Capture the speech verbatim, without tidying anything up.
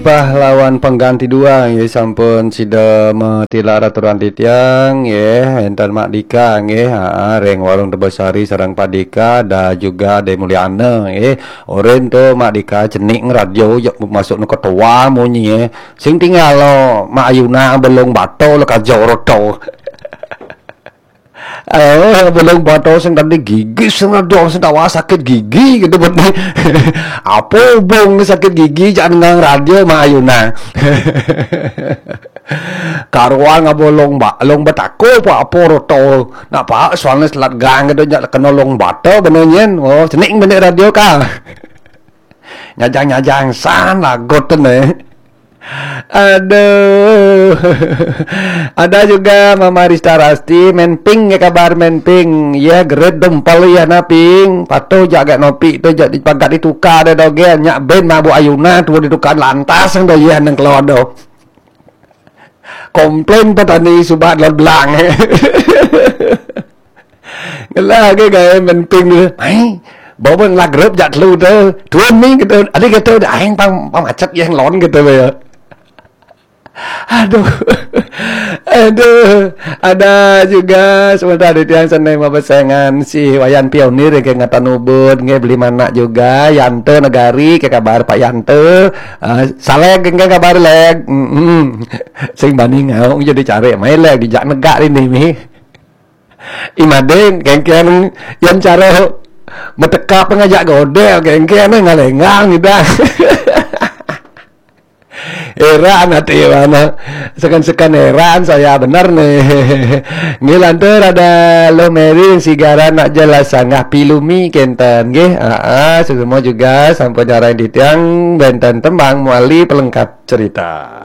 Pahlawan pengganti dua nggih, sampun sida matilak raturan titiang nggih, enten Mak Dika nggih, ha, ring Warung Tebesari sareng Pak Dika, ada juga Ade Mulyana nggih. Orin tu Mak Dika cenik radio jak masuk nu ketua munyi nggih. Sing tinggal lo Mak Ayuna belung bato lo kajo roto. Eh, belum bato sing tadi gigi sing ada sing tawa sakit gigi gitu betul. Apa hubung sakit gigi jangan ngang radio Mak Ayuna. Karuan ngabolong ba long betako apa apa roto. Nak pak soalnya selat gang gitu jak kena long bata bener nyen. Oh, cenik bener radio ka. Nyajang-nyajang san lagot tu ne. Aduh. Ada juga Mama Rista Rasti, men ping ya kabar men ping. Ya gerit dempel ya na ping. Patuh jaga nopi tu jak dipagat ditukar ada dogen. Nyak ben mabuk ayuna tu ditukar lantas yang doyen yang keluar do. Komplain petani subat lot belang. Ngelah ke gaya men ping tu. Mai, bawa ngelah grup jak telu tu. Tuan ni kata, ada kata, dah aing pang pang macet yang lon kata ya. Aduh. Aduh, ada juga sebentar di tiang senai mabesengan si Wayan Pionir ke ngatan ubud nge beli manak juga Yante Negari ke kabar Pak Yante. Ah, saleg ke kabar leg. Mm-mm. Sing bani ngau jadi cari mai leg dijak negak ini mi. Imadeng kengkeng yang cara metekap ngajak godel kengkeng ngalenggang gitu. Heran hati mana. Sekan-sekan heran saya bener nih. Ngilantur ada lo meri sigara nak jelas sanggah pilumi kenten nggih. Ah, semua juga sampun nyarai di tiang benten tembang muali pelengkap cerita.